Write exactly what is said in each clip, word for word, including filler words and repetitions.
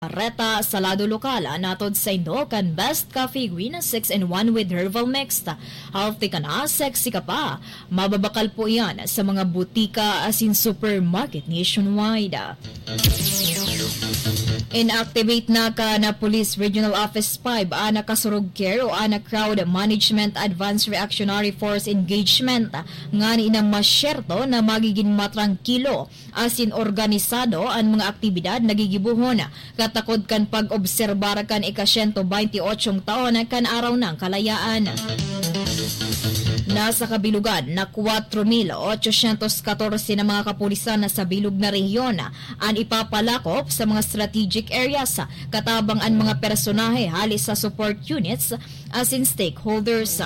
Reta sa lado lokal, natod sa indo kan Best Coffee Win six in one with Herbal Mix. Healthy ka na, sexy ka pa. Mababakal po iyan sa mga butika asin supermarket nationwide. Inactivate na kan Police Regional Office five an Kasurog Care o an Crowd Management Advanced Reactionary Force Engagement, ngani na masyerto na magigin matrangkilo asin organisado an mga aktibidad na gigibohon. Katakod kan pag-obserbar kan ika-siyento baynte otsong taon kan Araw ng Kalayaan. Nasa kabilugan na kwatro mil otsosyentos katorse na mga kapulisan na sa bilog na rehiyon an ipapalakop sa mga strategic areas, katabang an mga personahe hali sa support units asin stakeholders.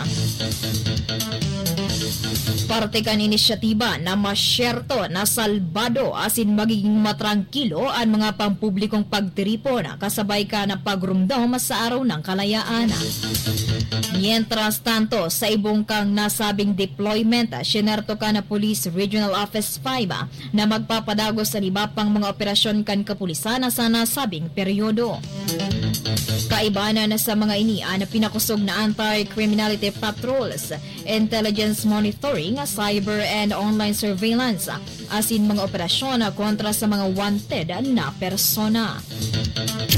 Parte kan inisyatiba na masyerto na salbado asin magiging matrangkilo an mga pampublikong pagtiripon kasabay kan pagrumdom sa Araw ng Kalayaan. Mientras tanto, sa ibong kang nasabing deployment, sinerto kan Police Regional Office five na magpapadagos sa iba pang mga operasyon kan kapulisan sa nasabing peryodo. Kaibanan sa mga ini an pinakosog na anti-criminality patrols, intelligence monitoring, cyber and online surveillance, asin mga operasyon kontra sa mga wanted na persona.